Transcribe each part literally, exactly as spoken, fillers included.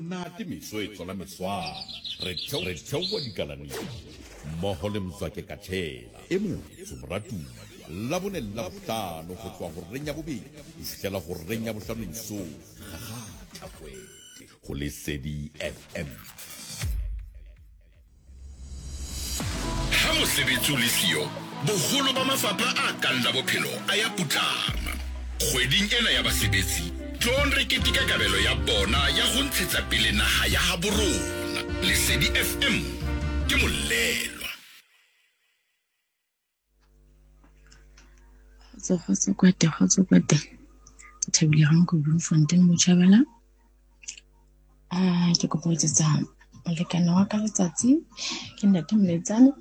Monate meso e tswala meswana. Re theo re theoha dikalaneng mmoho le Mzwake Katshela e motsho moratuwa. Labone le Labohlano ho tloha horeng ya bobedi ho fihlela horeng ya bohlano mesong. Kgakgatha kwete ho Lesedi F M. Ha mosebetsi o le siyo, boholo ba mafapha a kang la bophelo a ya putlama. Kgweding ena ya basebetsi, tloong re keteke kabelo ya bona ya ho ntshetsa pele naha ya habo rona. Lesedi F M ke molelwa. Kgotso, kgotso kwete, kgotso kwete. Ke thabile ha nko Bloemfontein Botjhabela. Ah, ke kopa ho etsetsa molekane wa ka letsatsi. Ke ntate Moletsane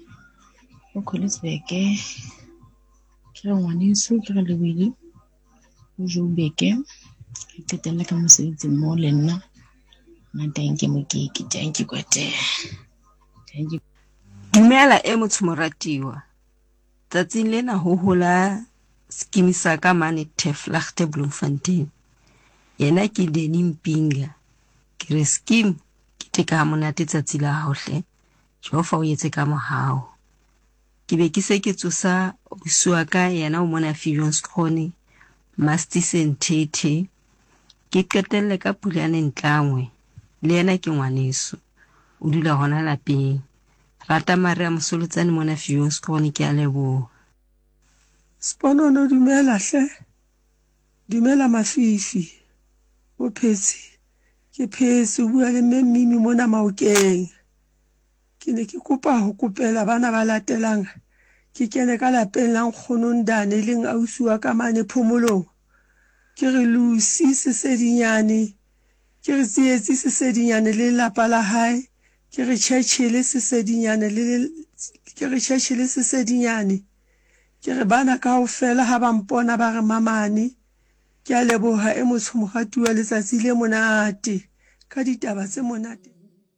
o Colliesburg. Ke re ngwaneso, ke re Lebohile o Joburg. Ke qetelle ka mosebetsi mmoho le nna. Nna thank you Mokeke, thank you kwete. Thank you. Dumela e motho moratiwa. Tsatsing lena ho hola skimi sa ka mane Teflagte Bloemfontein. Yena ke Danny Mpinga. Ke re skim ke teka ha monate tsatsi la hao hle. Jehova o etse ka mohau. Ke be ke se ke tsosa ausi wa ka yena o mona Viljoenskroon, Mastise Nthethe. Ke qetelle ka Pulane Ntlangwe, le yena ke ngwaneso. O dula hona lapeng. Rata Maria Mosolotsane mona Viljoenskroon, ke a leboha. Sponono dumela hle. Dumela Mafifi. O phetse. Ke phetse, o bua le mme Mmimi mona Maokeng. Ke ne ke kopa ho kopela bana ba latelang. Ke kene ka lapeng la nkgono Ndane leng ausi wa ka mane phomolong. Ke re Lucy Sesedinyane, ke re Tsietsi Sesedinyane le lelapa la hae, ke re Churchill Sesedinyane le ke re Churchill Sesedinyane. Ke re bana kaofela ha ba mpona ba re mamane. Ke a leboha e motsho moratuwa letsatsi le monate ka ditaba tse monate.